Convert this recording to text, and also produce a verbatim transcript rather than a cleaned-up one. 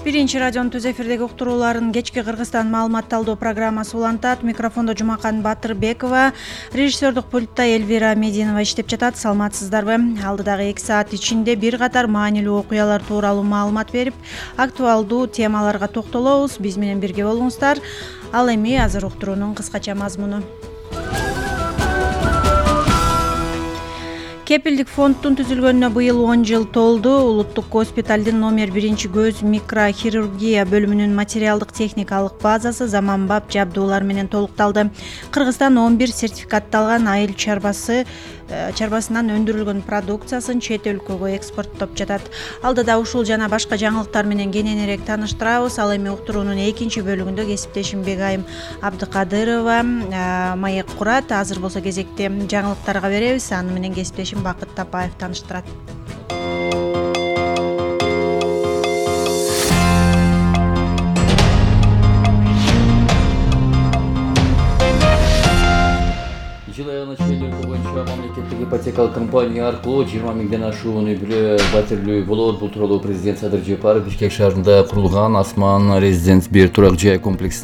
Биринчи радионун түз эфирдеги уктурууларын кечки Кыргызстан маалымат талдоо программасы улантат. Микрофондо Жумакан Батырбекова, режиссердик пультта Эльвира Мединова иштеп жатат. Саламатсыздарбы? Алдыдагы эки саат ичинде бир катар маанилүү окуялар тууралуу маалымат берип, актуалдуу темаларга токтолобуз. Биз менен бирге болуңуздар. Ал эми азыр уктуруунун кыскача мазмуну. Кепилдик фонддун түзүлгөнүнө быйыл он жыл толду. Улуттук госпиталдын номер биринчи көз микрохирургия бөлүмүнүн материалдык техникалык базасы заманбап жабдуулар менен толукталды. Кыргызстан он бир сертификатталган айыл чарбасы чарбасынан өндүрүлгөн продукциясын чет өлкөгө экспорттоп жатат. Алдыда ушул жана башка жаңылыктар менен кененирээк тааныштырабыз. Ал эми уктуруунун экинчи бөлүгүндө кесиптешим Бегайым Абдыкадырова маек курат. Азыр болсо кезекти жаңылыктарга беребиз. Аны менен кесиптешим Бакыт Тапаев тааныштырат. Жыл айына чыгылуу боюнча мамлекеттик ипотекалык компания аркылуу жыйырма миңден ашуун үй бүлө батирлүү болот. Бул тууралуу президент Садыр Жапаров Бишкек шаарында курулган Асман Резиденс бир турак жай комплексин